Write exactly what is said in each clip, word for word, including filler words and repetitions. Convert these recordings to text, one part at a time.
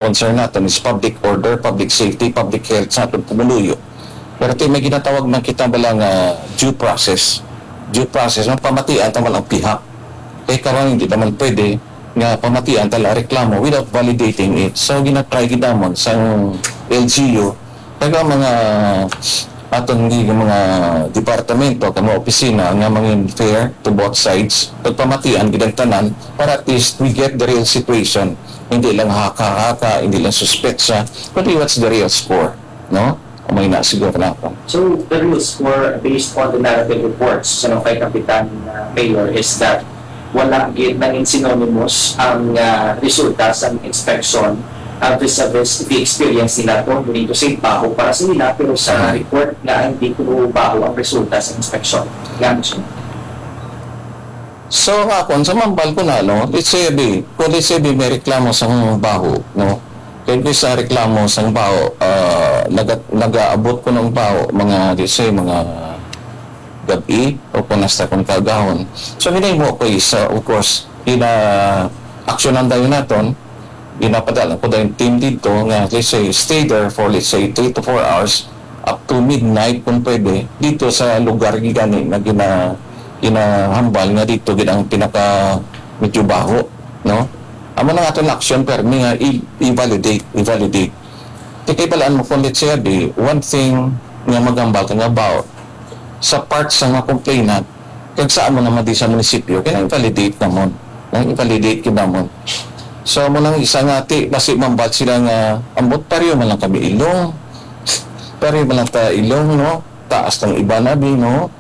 concern naton is public order, public safety, public health sa aton pumuluyo. Pero ti may ginatawag man kita bala nga due process. Due process, no? Pamatian ta man ang pihak. Kay karon hindi naman pwede nga pamatian ta lang reklamo without validating it. So, ginatry gid namon sang L G U, kag ang mga aton gi-, mga departamento, kag mga opisina nga mangin fair to both sides, pagpamatian gid ang tanan para at least we get the real situation. Hindi lang haka-haka, hindi lang suspetsa, kundi what's the real score, no? Umay na siguro na ako. So, the real score, based on the narrative reports sa mga kay Kapitan, uh, Mayor, is that wala gid nangin synonymous ang, uh, resulta sa inspection, uh, vis-a-vis the experience nila to, dito sa baho para sa nila, pero sa, mm, report na hindi ko baho ang resulta sa inspection. Gamit siya. So, nga akon, sa mambal ko na, no, let's say, abi, kung let's say, abi, may reklamo sa baho, no, kaya ko sa reklamo sa baho, ah, naga-, nagaabot ko ng baho, mga, let's say, mga gabi, o kung nasta kong kagahon. So, ginahimo ko is, uh, of course, gina-actionan dayon naton, ginapadala ko dayon team dito nga, let's say, stay there for, let's say, three to four hours, up to midnight kung pwede, dito sa lugar gani nga gina-, ginahambal nga dito gid ang pinaka medyo baho, no? Amo na nga aton action permi nga i-, i-validate, i-validate. Ti kay balaan mo kung let's say, abi, one thing nga maghambal ka nga about sa part sa mga complainant, kag sa amo naman di sa munisipyo, kaya i-validate namon. Nang i-validate gid namon. So, amo nang isa nga ti, basi mambal sila nga, "Ambot pareho man lang kami ilong. Pareho man lang ta ilong, no? Taas ng iba na, bi, no?"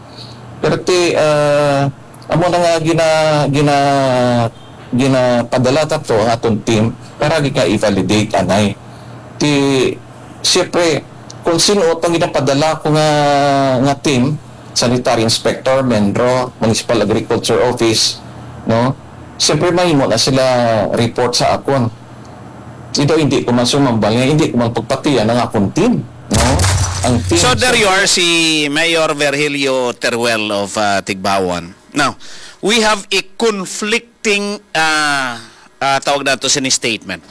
Pero ti, ah, amo na nga gina-, gina-, ginapadala ta to ang aton team para gid nga i-validate anay. Ti, siyempre, kung sino tong ginapadala ko nga, nga team, sanitary inspector, menro, municipal agriculture office, no? Siyempre, mahimo na sila report sa akon. Ito, hindi ko man sumambal nga, hindi ko man pagpatian ang akon team, no? Ang team So, there sa you are, si Mayor Virgilio Teruel of, uh, Tigbauan. Now, we have a conflicting, uh, uh, tawag nato sini statement.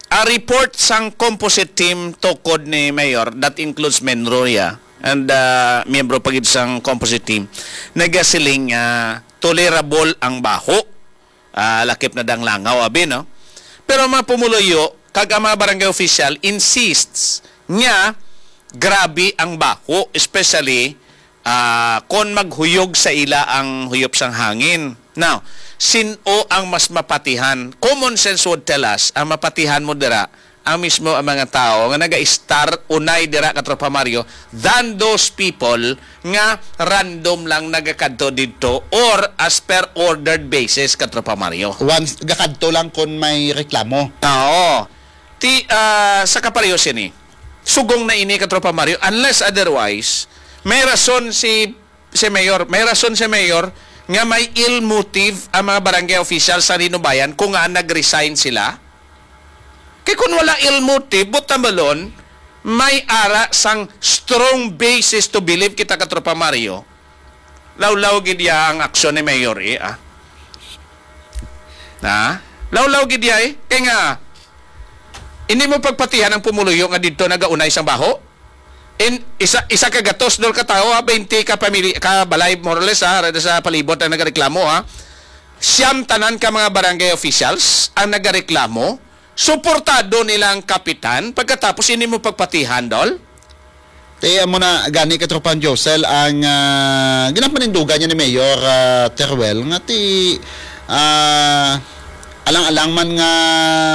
A report sang composite team tukod ni Mayor, that includes Menroya and, uh, miyembro pa gid sang composite team, nagasiling, uh, tolerable ang baho. Ah, lakip na dang langaw, abi, no? Pero ang mga pumuluyo kag ang mga barangay official insists nga grabe ang baho, especially, ah, kon maghuyog sa ila ang huyop sang hangin. Now, sin-o ang mas mapatihan? Common sense would tell us, ang mapatihan mo dira ang mismo ang mga tawo nga naga-start unay dira, Katropa Mario, than those people nga random lang nagakadto didto or as per ordered basis, Katropa Mario. Once, gakadto lang kon may reklamo. Oo. Ti, ah, sa kapareho sini, sugong na ini, Katropa Mario, unless otherwise, may rason si, si Mayor, may rason si Mayor nga may ill motive ang mga barangay officials sa Linubayan kung nga nag-resign sila. Kay kun wala ill motive, buta balon, may ara sang strong basis to believe kita, Katropa Mario. Lawlaw gid ya ang aksyon ni Mayor, eh, ah. Na? Lawlaw gid ya, eh. Kay nga, hindi mo pagpatihan ang pumuluyo nga didto nagaunay sang baho. In, isa, isa ka gatos, dol ka tawo, ha, twenty ka pamili-, ka balay, more or less, ha, rada sa palibot ang nagareklamo, ha. Siyam tanan ka mga barangay officials ang nagareklamo, suportado nila ang kapitan, pagkatapos hindi mo pagpatihan, dol? Ti, amo na gani, Katropang Josel, ang, ah, ginapanindugan niya ni Mayor, ah, Teruel, nga ti, ah, alang-alang man nga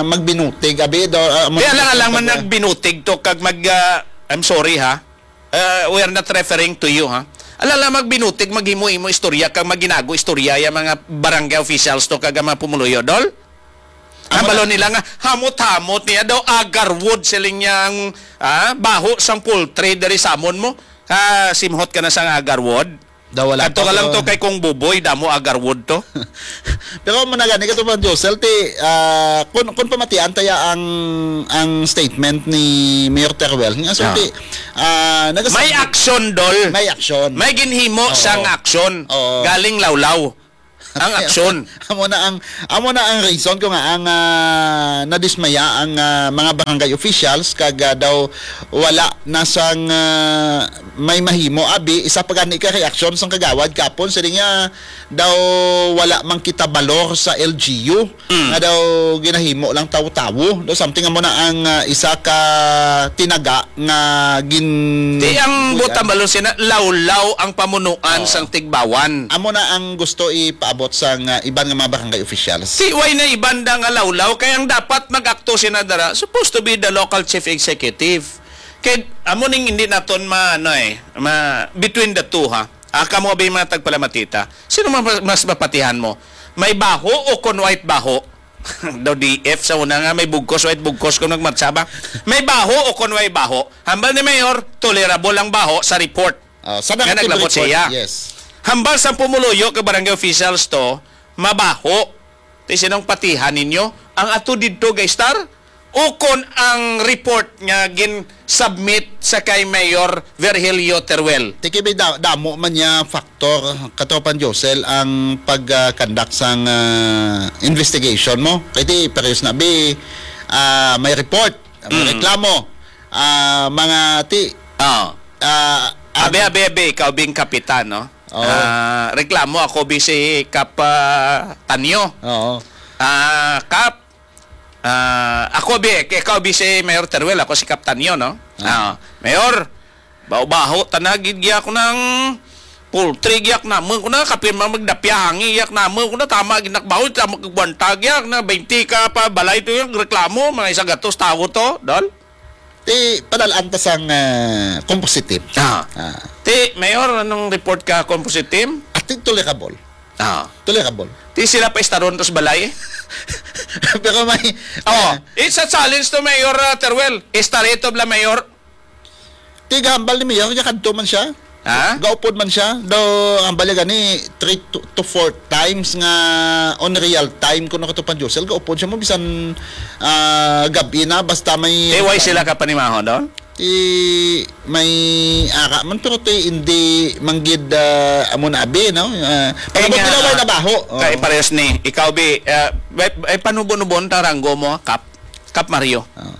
magbinutig, abi, do, ah, amo Di na alang-alang man pag- nagbinutig to kag mag, ah, I'm sorry, ha. Uh, we are not referring to you, ha. Alang-alang magbinutig, maghimo-himo istorya kag maginago istorya ya mga barangay officials to kag ang mga pumuluyo, dol. Ang Amo na. Balon nila nga hamot-hamot niya daw agarwood, siling niya ang, ah, baho sang poultry diri sa amon mo. Ah, simhot ka na sang agarwood. Daw wala Adto pa ka lang ko. To kay Kong Buboy, damo agarwood to. Pero mo na gani, Katropang Josel, ti, ah, kun, kun pamatian taya ang, ang statement ni Mayor Teruel, nga so, Ah. ti, ah, nagasab- May action, dol. May action. May ginhimo Oo. Sang action. Oo. Galing lawlaw. Ang aksyon. Amo na ang, amo na ang reason ko nga ang, ah, nadismaya ang, ah, mga barangay officials kag, ah, daw wala na sang, ah, may mahimo. Abi, isa pa gani ka reaksyon sang kagawad kapon, siling niya daw wala man kita balor sa L G U, Mm. nga daw ginahimo lang tawo-tawo. Daw something amo na ang, ah, isa ka tinaga nga gin-, Di ang gin-, butang balon sina, lawlaw ang pamunuan Oo. sang Tigbawan. Amo na ang gusto ipaabot sang, ah, iban nga mga barangay officials. Si way na iban da nga lawlaw, kay ang dapat mag-akto sina dara, supposed to be the local chief executive. Kay amo ning hindi naton ma-, ano eh, ma-, between the two, ha. Ah, kamo abi mga tagpalamatita. Sino ma-, mas mapatihan mo? May baho o kon white baho? Daw D F sa una nga may bugkos, white bugkos kung nagmatsa ba? May baho o kon way baho? Hambal ni Mayor, tolerable ang baho sa report. Ah, sa Nga negative naglabot report, siya. Yes. Hambal sa pumuluyo kay barangay officials to, mabaho. Ti sinong patihan ninyo? Ang ato didto, guys, star? O kon ang report nga gin-submit sa kay Mayor Virgilio Teruel? Ti kay may da-, damo man niya factor, Katropan Josel, ang pag, ah, conduct sang, ah, investigation mo. Kay ti, parehas na, bi, ah, may report, may Mm. reklamo, ah, mga ti, Ah. ah, Abi, ang abi, abi, ikaw bing kapitan, no? Oo. Ah, reklamo ako bi si Kap, ah, Tanyo. Oo. Ah, Kap, ah, ako bi, ikaw bi si Mayor Teruel, ako si Kap Tanyo, no? Ah. Ah, Mayor, baho-baho, tanag gid giyak nang poultry giyak naman ko na, kapin man magdapya hangi giyak naman ko na, tama gid nakbaho, tama kagbantag giyak na, twenty ka pa, balay to yung reklamo, mga isa gatos tawo to, dol? Ti, padal-an ta sang, ah, composite team. Ah. Ah. Ti, Mayor, anong report ka composite team? I think tolerable. Ah. Tolerable. Ti sila pa istaron to sa balay? Pero may, Oh, ah, it's a challenge to Mayor, ah, Teruel. Istari to bla, Mayor. Ti gahambal ni Mayor, niya kadto man siya. Ha? Gaupod man siya. Daw, ang bali gani, three to, to four times nga on real time kuno, Katropan Josel. Gaupod siya mo, bisan, ah, gabi na, basta may Eh, why sila ka panimaho doon? Ti may ara man, pero ti hindi manggid, ah, amo na abi, no? Ah, Kaya pero nga, bilaw ay ah, nabaho. Oo. Kay parehas ni, ikaw, bi, ah, ay, ay panubo-nubon ta ranggo mo, Kap, Kap Mario. Oo.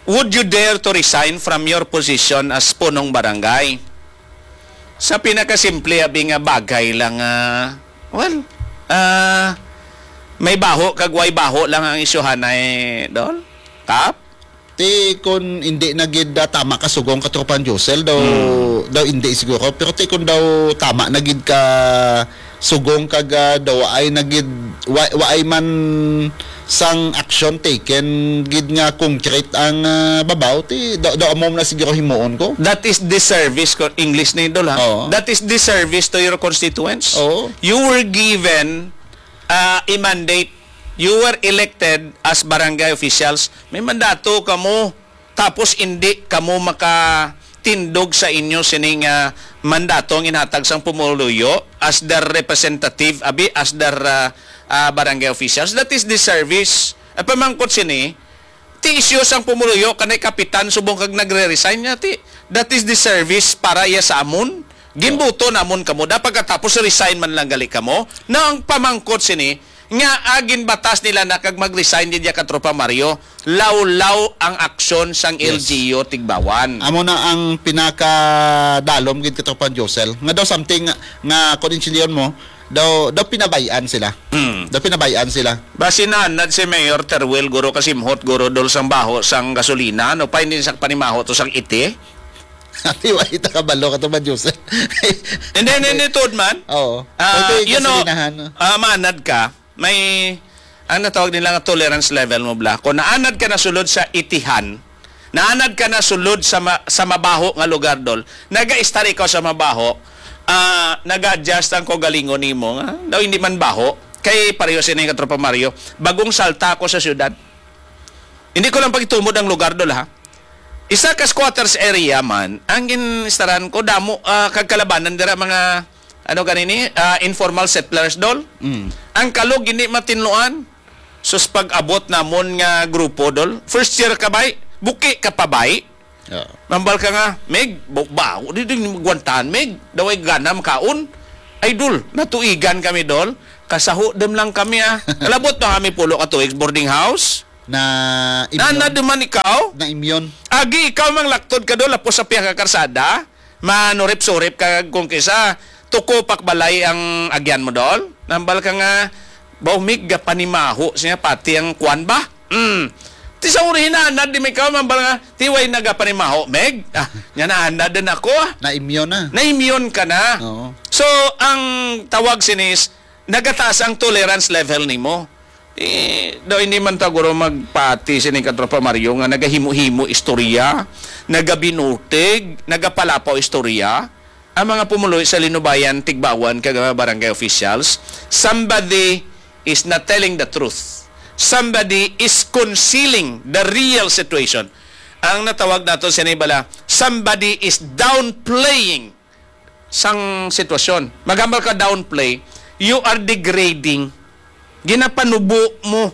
Would you dare to resign from your position as punong barangay? Sa pinakasimple, abi nga bagay lang, ah, well, ah, may baho kag way baho lang ang isyuhanay, Dol? Kap? Ti kun hindi na gid, ah, tama ka sugong, Katropan Josel, daw, Hmm. daw hindi siguro. Pero ti kun daw tama na gid ka sugong kag, ah, daw waay na gid, wa-, waay man sang action taken gid nga concrete ang, ah, babaw, ti daw, daw amo na siguro himuon ko. That is disservice ko, English ni Idol, ha? Oo. That is disservice to your constituents. Oo. You were given, ah, a mandate. You were elected as barangay officials. May mandato kamo. Tapos hindi kamo makatindog sa inyo sining, ah, mandato ang inhatag sang pumuluyo as their representative, abi, as their, ah, ah, barangay officials. That is disservice. Ay pamangkot sini, ti isyu sang pumuluyo kanay kapitan subong kag nagre-resign niya, ti, that is disservice para iya sa amon. Ginbuto namon kamo. Dapat katapos resign man lang gali kamo. Na ang pamangkot sini, nga, ah, ginbatas nila na kag mag-resign din diya, Katropa Mario, lawlaw ang aksyon sang Yes. L G U Tigbawan. Amo na ang pinakadalom gid, Katropa Josel. Nga daw something nga, nga kung intindihan mo, daw, daw pinabayaan sila. Hmm. Daw pinabayaan sila. Basi nanad si Mayor Teruel, guro, kasimhot, guro, dol sang baho sang gasolina, no? Pa, hindi sa panimaho to sang iti. Ati, wa ita kabalo, Katropa Josel. Hindi, hindi, hindi, tuod man. Oo. Ah, Pwede you know, gasolinahan, no? ah, manad ka, may, ang natawag nila nga tolerance level mo, bla. Kung naanad ka na sulod sa itihan, naanad ka na sulod sa ma-, sa mabaho nga lugar, dol, naga-estar ikaw sa mabaho, ah, naga-adjust ang kaugalingon nimo, nga daw hindi man baho. Kay pareho sini, Katropa Mario, bagong salta ako sa syudad. Hindi ko lang pagitumod ang lugar, dol, ha? Isa ka squatters area man, ang ginstaran ko, damo, ah, kag kalabanan dira, mga, ano ganini, ah, informal settlers, dol. Mm. Ang kalog, hindi matinluan. Sus, pag-abot namon nga grupo, dol. First year ka, bay? Buki ka pa, bay? Oo. Mambal ka nga, Meg, ba-, bago di din magwantahan, Meg. Daway gana makaon. Ay, dol, natuigan kami, dol. Kasaho dem lang kami, ah. Kalabot pa kami pulo ka tuig sa boarding house. Na Na, imyon. na duman ikaw? Na imyon. Agi ikaw mang laktod ka do, lapos sa pihak ka karsada. Manurip-surip ka kung kisa. Tuko pak balay ang agyan mo, dol. Nambal ka nga, baw mig gapanimaho siya, pati ang kwan ba? Mm. Ti sa uri hinanad, di may ikaw, mambal nga, ti way nagapanimaho, Meg? Ah, nya naanad din ako, ah. Na imyon na. Na imyon ka na. Oo. So, ang tawag sinis, nagataas ang tolerance level nimo. Eh, daw hindi man ta guro magpati sini ka Tropa Mario nga nagahimo-himo istorya, nagabinutig, nagapalapaw istorya. Ang mga pumuluy sa Linubayan, Tigbawan, kag mga barangay officials, somebody is not telling the truth. Somebody is concealing the real situation. Ang natawag nato sini bala, somebody is downplaying sang sitwasyon. Maghambal ka downplay, you are degrading. Ginapanubo mo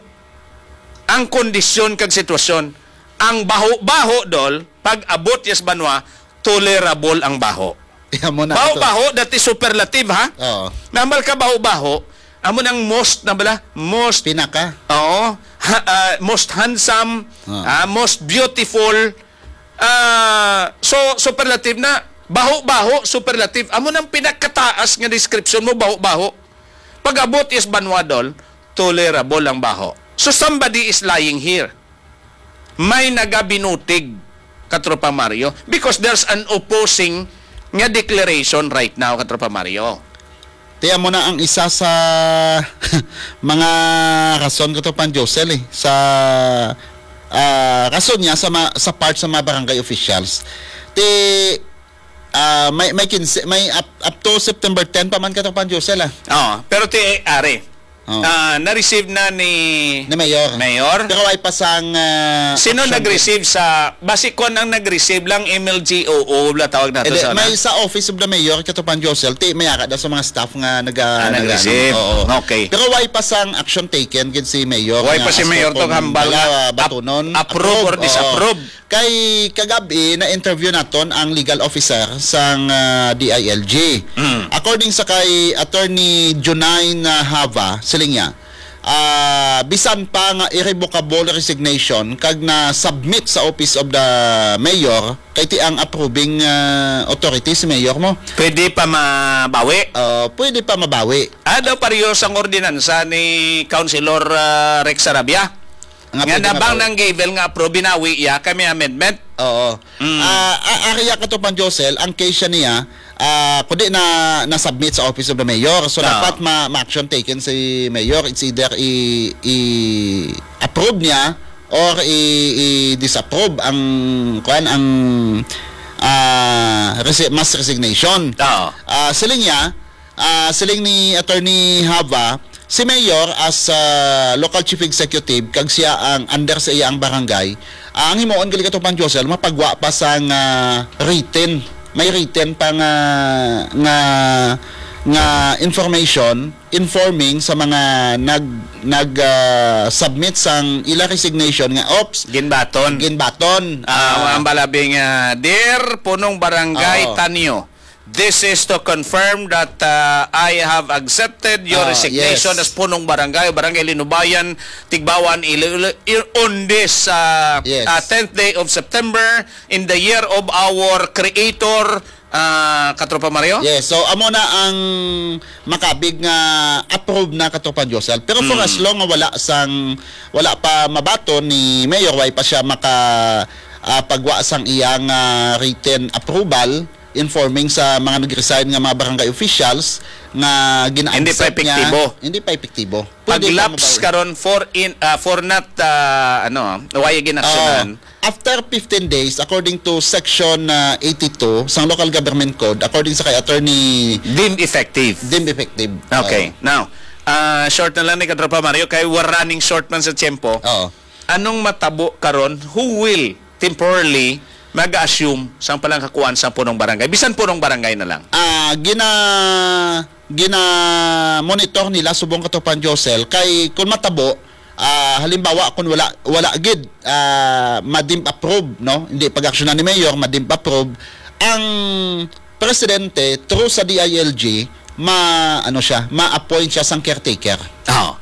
ang kondisyon kag sitwasyon. Ang baho-baho, dol, pag abot yes banwa, tolerable ang baho. Amo na to. Baho-baho, dati superlative, ha? Oo. Nambal ka baho-baho, amo nang most na bala, most Pinaka. Oo. Ha, ah, most handsome, Ah. ah, most beautiful. Ah, so, superlative na. Baho-baho, superlative. Amo nang pinakataas nga description mo, baho-baho. Pag abot is banwa, dol, tolerable ang baho. So, somebody is lying here. May nagabinutig, Katropa Mario, because there's an opposing nga declaration right now, Katropa Mario. Ti amo na ang isa sa mga rason, Katropa Josel, eh, sa, ah, rason niya sa ma-, sa part sa mga barangay officials. Ti, ah, may, may kinse, may up, up to September ten pa man, Katropa Josel, ah. Oo, pero ti, eh, are, Oo. ah, na-receive na ni Ni Mayor. Mayor? Pero way pa sang, ah, Sino action nag-receive sa, basi kon ang nag-receive lang, M L G O O, wala tawag nato Hindi, sa, may ano? Sa Office of the Mayor, Katropa Josel, ti, may ara daw sa mga staff nga naga-, Ah, naga-, nag-receive. Oo. Okay. Pero way pa sang action taken gid si Mayor Way nga pa si as Mayor for to kung hambal bala, nga ah, ap-, batunon, approve or approve, oo. Disapprove. Kay kagabi, na-interview naton ang legal officer sang, ah, D I L G. Mm. According sa kay Attorney Junine, ah, Hava, siling niya, ah, bisan pa nga irrevocable resignation kag na-submit sa Office of the Mayor, kay ti ang approving, ah, authority si Mayor mo. Pwede pa mabawi? Ah, pwede pa mabawi. Ah, daw pareho sang ordinansa ni Councilor, ah, Rex Sarabia. Nga Nga pwede nabang mabawi. Nang given nga approve, binawi iya, kami amendment. Oo. Mm. Ah, a-, ari ya, Katropa Josel, ang case siya niya, ah, kundi na, na-submit sa Office of the Mayor. So, Oo. Dapat ma-, ma-action taken si Mayor. It's either i-, i-approve niya or i-, i-disapprove ang, kuwan, ang, ah, resi-, mass resignation. Oo. Ah, siling niya, Ah, siling ni Attorney Hava, si Mayor as, ah, local chief executive kag siya ang under sa iya ang barangay, ah, ang himuon gali, Katropa Josel, mapagwa pa sang, ah, written. May written pa nga, nga, nga information informing sa mga nag, nag, ah, submit sang ila resignation nga, "Ops, Ginbaton. ginbaton." Ah, Ah, ang balabing, ah, "Dear Punong Barangay Oo. Tanyo, this is to confirm that, uh, I have accepted your Ah, resignation yes. as Punong Barangay, Barangay Linubayan, Tigbawan, Iloilo, i-, on this, uh, Yes. uh, tenth day of September, in the year of our Creator, uh, Katropa Mario?" Yes, so amo na ang makabig nga approve na, Katropa Josel. Pero for Mm. as long nga wala sang, wala pa mabaton ni Mayor, way pa siya maka, ah, pagwa sang iyang, ah, written approval, informing sa mga nag-resign nga mga barangay officials nga gina-accept Hindi pa epektibo. Niya, hindi pa epektibo. Pwede pa Pag-lapse mabawi. Karon for in, ah, for not, ah, ano, why ginaksyonan? Oo. After fifteen days, according to section, ah, eighty-two sang Local Government Code, according sa kay Attorney Deemed effective. Deemed effective. Okay. Oo. Now, ah, short na lang ni Katropa Mario kay we're running short man sa tiyempo. Oo. Anong matabo karon? Who will temporarily mag-assume sang palangkakuan sa punong barangay? Bisan punong barangay na lang. Ah, gina-, gina-monitor nila subong, Katropa Josel, kay kun matabo, ah, halimbawa kun wala, wala gid, ah, ma-deem approve, no? Hindi pag-aksyonan ni Mayor, ma-deem approve ang presidente through sa D I L G, ma-, ano siya, ma-appoint siya sang caretaker. Oh.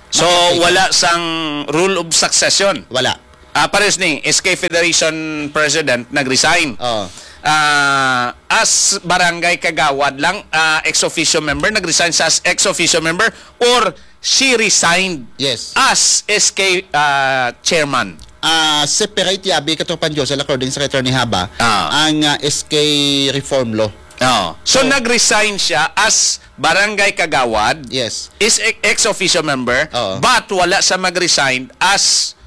So, Mag-caretaker. Wala sang rule of succession. Wala. Ah, pares ni S K Federation President nag-resign. Oh. Ah, as barangay kagawad lang, ah, ex officio member, nag-resign siya as ex officio member, or she resigned Yes. as S K, ah, chairman. Ah, separate yabi, Katropang Josel, according sa Attorney Haba, Ah. ang, ah, S K reform law. Oh. So, So, nag-resign siya as barangay kagawad, Yes. is e-, ex officio member, Oo. but wala siya mag-resign as,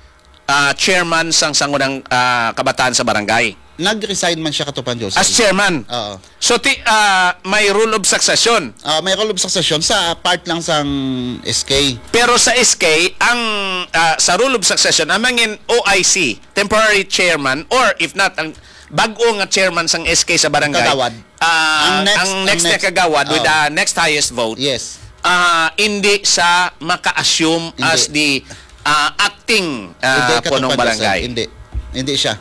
ah, chairman sang sangunang, ah, kabataan sa barangay. Nag-resign man siya, Katropang Josel. As chairman. Oo. So, ti-, ah, may rule of succession. Ah, may rule of succession sa part lang sang S K. Pero sa S K, ang, ah, sa rule of succession, ang mangin O I C, temporary chairman, or if not, ang bag-o nga chairman sang S K sa barangay, Kagawad. ah, Ang next, ang ang next na next, kagawad with oo. the next highest vote, Yes. ah, hindi siya maka-assume Hindi. as the, ah, acting, ah, Hindi, punong Katropang Josel. barangay. Hindi. Hindi siya.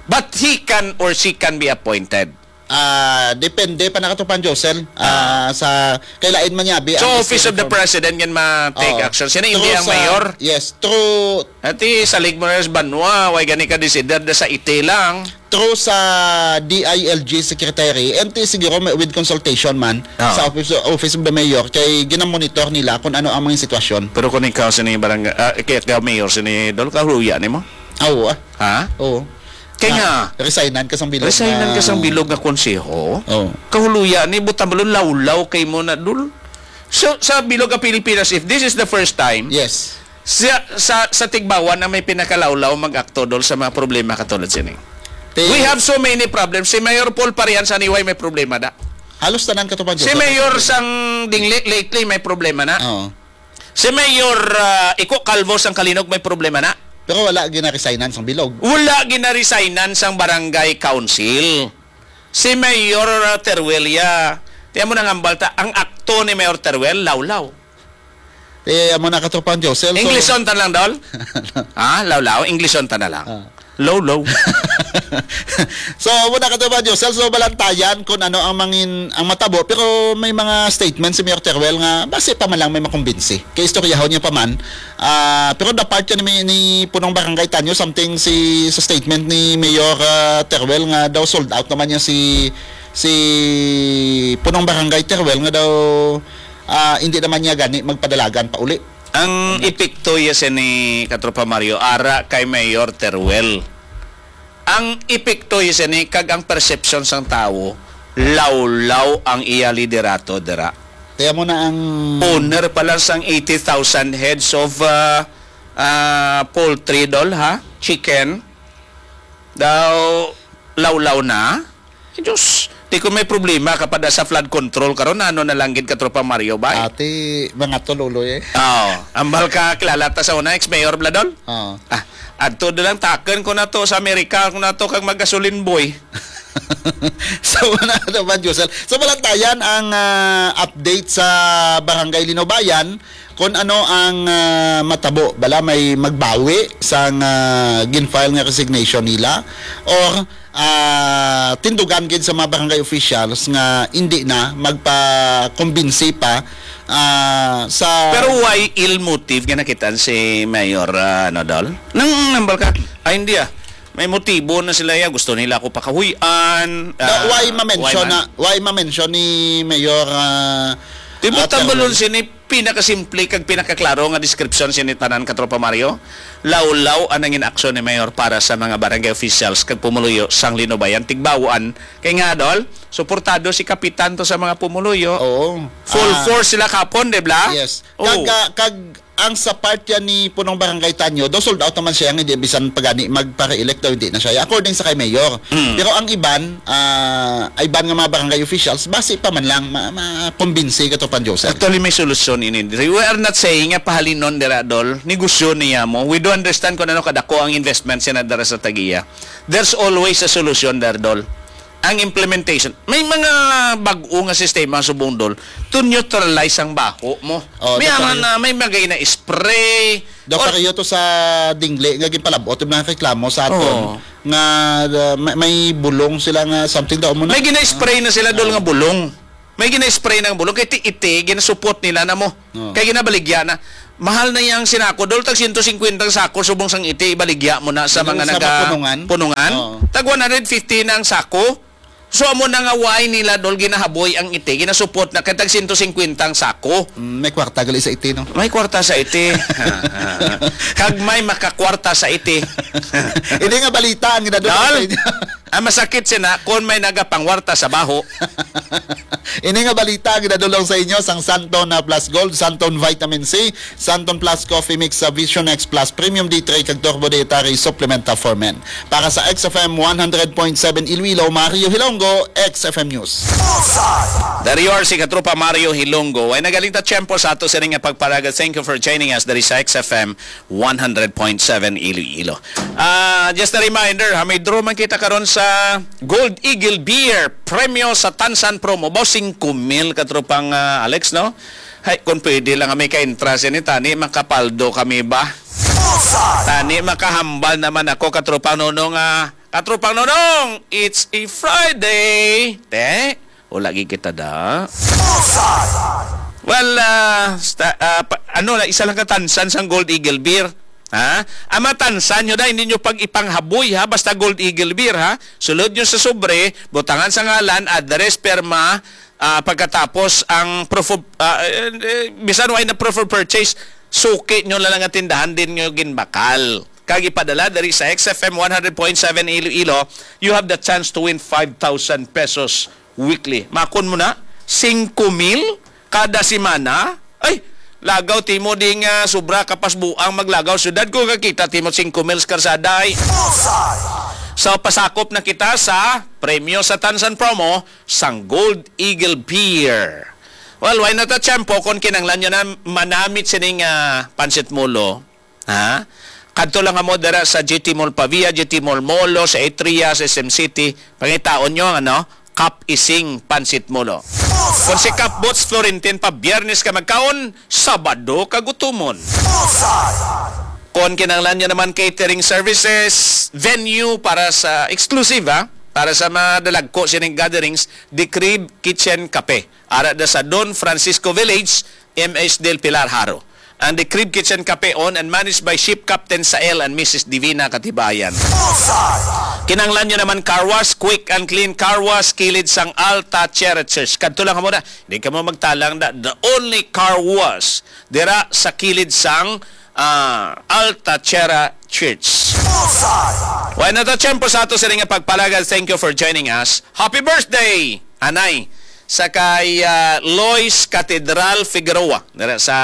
But he can or she can be appointed. Ah, depende pa na, Katropang Josel. Ah. Ah, sa, kay lain man yabi So, ang Office of the President yan ma-take Oo. action. Sino, hindi Through ang sa, mayor? Yes, through Ati, salig mo na sa banwa, way gani ka desider da sa iti lang. Through sa D I L G secretary, and ti siguro may, with consultation man Oo. sa office, Office of the Mayor, kay ginamonitor nila kung ano ang mga sitwasyon. Pero kung ikaw sini barangay, ah, kay ikaw mayor sini, Dol, kahuya nimo? Ah, oo, ah. Ha? Oo. Kay Na, nga, resignan ka sang bilog Resignan na ka sang bilog nga konseho? Oo. Kahuluya ni, buta balon lawlaw kay mo na, Dol. So, sa bilog nga Pilipinas, if this is the first time, Yes. sa, sa, sa Tigbauan na may pinakalawlaw mag-akto, Dol, sa mga problema katulad sini. Ti- We have so many problems. Si Mayor Paul Parian sa Niway may problema da. Halos tanan, Katropang Si Josel, may Mayor problema. sang Dingle lately may problema na. Oo. Si Mayor, ah, Iko Calvo sang Kalinog may problema na. Pero wala ginaresignan sang bilog. Wala ginaresignan sang barangay council. Si Mayor, ah, Teruel ya, tiyan mo nang hambal ta, ang akto ni Mayor Teruel, lawlaw. Eh, amo na, Katropang Josel, so Englishon ta lang, Dol? Ha? Lawlaw? Englishon ta na lang. Ah. Low, low. So, muna ka ba, Josel? So, balantayan kung ano ang mangin-, ang matabo. Pero may mga statement si Mayor Teruel nga basi pa man lang may makumbinsi. Kay istoryahon niya pa man. Ah, pero the part yan ni, ni Punong Barangay Tanyo, something si, sa statement ni Mayor, ah, Teruel nga daw sold out naman niya si, si Punong Barangay Teruel nga daw, ah, hindi naman niya gani magpadalagan pa uli. Ang epekto ya sini, Katropa Mario, ara kay Mayor Teruel. Ang epekto ya sini kag ang perception sang tawo, lawlaw ang iya liderato dira. Kaya mo na ang Owner pa lang sang eighty thousand heads of, ah, ah, poultry, Dol, ha? Chicken. Daw, lawlaw na. Eh, Diyos, di ko may problema kapag sa flood control karon, ano na lang gid, Katropa Mario, bay? Ati, mga tululoy eh. Oo. Ambal ka, kilala ta sa una, ex-mayor, Bladol? Oo. Ah, adto na lang, takon ko na to sa Amerika, ko na to kag mag-gasoline boy. So, wala na ba, Josel? So, balantayan ang, ah, update sa Barangay Linubayan kung ano ang, ah, matabo. Bala may magbawi sang, ah, gin-file nga resignation nila or, ah, tindugan gid sa mga barangay officials nga hindi na magpakumbinsi pa, ah, sa Pero why ill motive nga nakitaan si Mayor, ah, ano, Dol? Nang nambal ka, ay, hindi, ah. May motibo na sila, ya. Gusto nila ako pakahuy-an. Daw, ah, why ma-mention why man? na, why ma-mention ni Mayor, ah, Di mo ah, tambalon Terwin? sini pinakasimple kag pinakaklaro nga description sini tanan, Katropa Mario? Lawlaw ang nangin aksyon ni Mayor para sa mga barangay officials kag pumuluyo sang Linubayan, Tigbauan. Kay nga, Dol, suportado si Kapitan to sa mga pumuluyo. Oo. Full Ah, force sila kapon, di bla? Yes. Oo. Kag, ah, kag ang sa part yan ni Punong Barangay Tanyo, daw sold out naman siya, nga hindi bisan pagani magpa-re-elect daw, hindi na siya. According sa kay Mayor. Mm. Pero ang iban, ah, iban nga mga barangay officials, basi pa man lang ma-, makumbinsi, Katropa Josel. Actually, may solusyon ini. We are not saying nga pahalinon dira, Dol. Negosyo niya mo. We do understand kung ano kadako ang investment sina dira sa Tagiya. There's always a solution there, Dol. Ang implementation, may mga bag-o nga sistema subong, Dol, to neutralize ang baho mo. Oh, May dapat aman yun. na, may mga na-spray. Daw Or pareho to sa Dingle nga ginpalabot yung mga reklamo sa aton Oo. nga, uh, may, may bulong sila nga something daw mo na. May gina-spray na sila, Dol, Oo. nga bulong. May gina-spray ng bulong. Kay ti-, iti, ginasupot nila na mo. Oo. Kay ginabaligya na. Mahal na yang sinako. Dol, tag siyento singkwenta ang sako, subong sang iti, ibaligya mo na sa Yung mga sa naga mga punungan? punungan. Oo. Tag one hundred fifty na ang sako. So, amo na nga why nila, Dol, ginahaboy ang iti. Ginasupot na kay tag siyento singkwenta ang sako. Mm, may kwarta gali sa iti, no? May kwarta sa iti. Kag may makakwarta sa iti. Hindi nga balita ang ginadulong Dol, sa inyo. Ang masakit sina kung may nagapangwarta sa baho. Ini nga balita ang ginadulong sa inyo sang Santon na Plus Gold, Santon Vitamin C, Santon Plus Coffee Mix sa Vision X Plus Premium D three kag Turbo Dietary Supplementa for Men. Para sa X F M one hundred point seven Iloilo, Mario Hilongo, X F M News. There you are, si Katropa Mario Hilongo. Ay nagaling ta tiyempo sa ato sining nga pagpalaga. Thank you for joining us diri sa X F M one hundred point seven Iloilo. Ah, just a reminder, ha, may draw man kita karon sa Gold Eagle Beer, premyo sa Tansan promo, baw singko mil, katropang, ah, Alex, no? Hay, kung pwede lang kami ka-entra sini, tani makapaldo kami ba? Tani makahambal naman ako, katropang Nonong, ah, katropang Nonong, it's a Friday. Te, o lagi kita da. Well, ah, sta-, ah, pa-, ano la, isa lang ka Tansan sang Gold Eagle Beer. Ha? Ang matansan nyo na, hindi nyo pag ipanghaboy, ha? Basta Gold Eagle Beer, ha? Sulod nyo sa sobre, butangan sa ngalan, address, perma, ah, pagkatapos ang proof of, ah, eh, eh, bisan wala na proof of purchase, suki nyo na lang ang tindahan din nyo ginbakal. Kag ipadala diri sa X F M one hundred point seven Iloilo, you have the chance to win five thousand pesos weekly. Makon mo na, singko mil kada semana. Ay, lagaw timo di nga sobra ka pas buang maglagaw syudad ko kakita timo singko mil sa karsada ay. So, pasakop na kita sa premyo sa Tansan Promo sang Gold Eagle Beer. Well, why not a tiyempo kung kinanglan nyo na manamit sining, ah, pansit mulo? Ha? Kadto lang kamo dira sa G T Mall Pavia, G T Mall Molo, sa Atria, sa S M City. Pangitaon nyo ang, ano, Kap Ising Pansit Molo. Kung si Kap Boots Florentin pa Biyernes ka magkaon, Sabado ka gutumon. Kung kinahanglan nyo naman catering services, venue para sa exclusive, ha? Para sa madalagko sining gatherings, The Crib Kitchen Cafe. Ara da sa Don Francisco Village, M S Del Pilar, Jaro. Ang The Crib Kitchen Cafe, owned and managed by Ship Captain Sael and Missus Divina Katibayan. Kinahanglan nyo naman car wash, quick and clean car wash, kilid sang Alta Cherry Church. Kadto lang kamo na. Di kamo magtalang na, the only car wash dira sa kilid sang, ah, Alta Cherry Church. Wala na to, tiyempo sa ato sa nga pagpalagad. Thank you for joining us. Happy birthday, Anay, sa kay, ah, Lois Catedral Figueroa, dira sa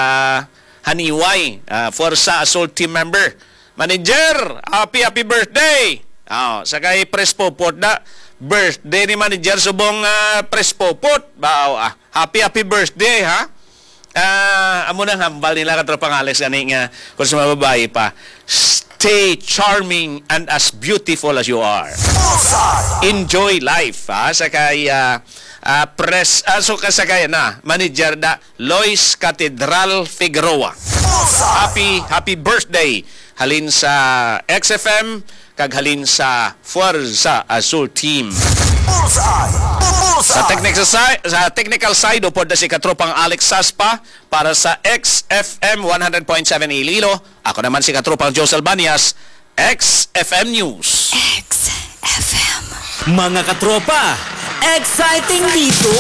Haniway, ah, Forza Azul team member. Manager, happy, happy birthday. Oh, sa kay Pres Popot na, birthday ni Manager subong, ah, Pres Popot. Bao, ah, happy, happy birthday, ha? Ah, amo nang hambal nila, katropang Alex, gani nga, kung sa mga babae pa, "Stay charming and as beautiful as you are. Enjoy life," ha? Sa kay, ah, ah, pres-, ah, so, ka-, sa kay na, manager na, Lois Catedral Figueroa. Happy, happy birthday, halin sa X F M, kag halin sa Fuerza Azul Team. Bullseye! Bullseye! Sa technical side, sa technical side, upod na si katropang Alex Saspa para sa X F M one hundred point seven Iloilo. Ako naman si katropang Joe Salvanias, X F M News. X F M. Mga katropa, exciting dito!